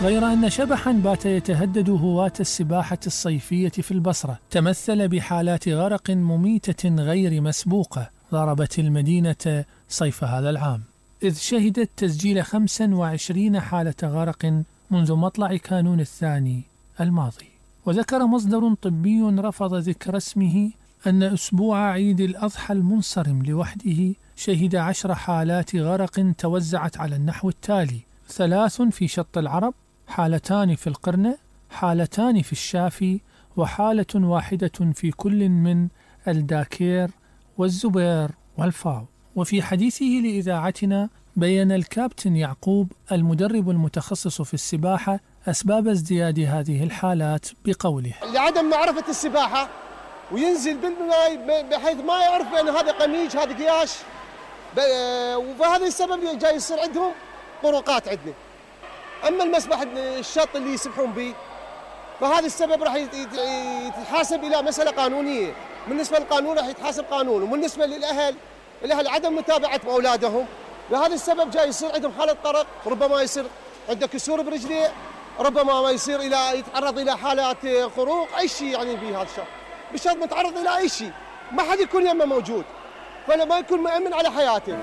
غير أن شبحاً بات يتهدد هواة السباحة الصيفية في البصرة تمثل بحالات غرق مميتة غير مسبوقة ضربت المدينة صيف هذا العام، إذ شهدت تسجيل 25 حالة غرق منذ مطلع كانون الثاني الماضي. وذكر مصدر طبي رفض ذكر اسمه أن أسبوع عيد الأضحى المنصرم لوحده شهد 10 حالات غرق توزعت على النحو التالي: 3 في شط العرب، 2 في القرنة، 2 في الشافي، وحالة واحدة في كل من الداكير والزبير والفاو. وفي حديثه لإذاعتنا بيّن الكابتن يعقوب المدرب المتخصص في السباحة أسباب ازدياد هذه الحالات بقوله: لعدم معرفة السباحة وينزل بالماء بحيث ما يعرف بأن هذا قميج هذا قياش، وبهذا السبب جاي يصير عندهم طرقات عندنا. أما المسبح الشط اللي يسبحون به فهذا السبب راح يتحاسب إلى مسألة قانونية، بالنسبة للقانون راح يتحاسب قانون، وبالنسبة للأهل عدم متابعة أولادهم، بهذا السبب جاي يصير عندهم حالة طرق، ربما يصير عنده كسور برجليه، ربما ما يصير يتعرض إلى حالات خروق، أي شيء يعني بهذا الشط بالشط متعرض إلى أي شيء، ما حد يكون يمه موجود، فلا ما يكون مأمن على حياته.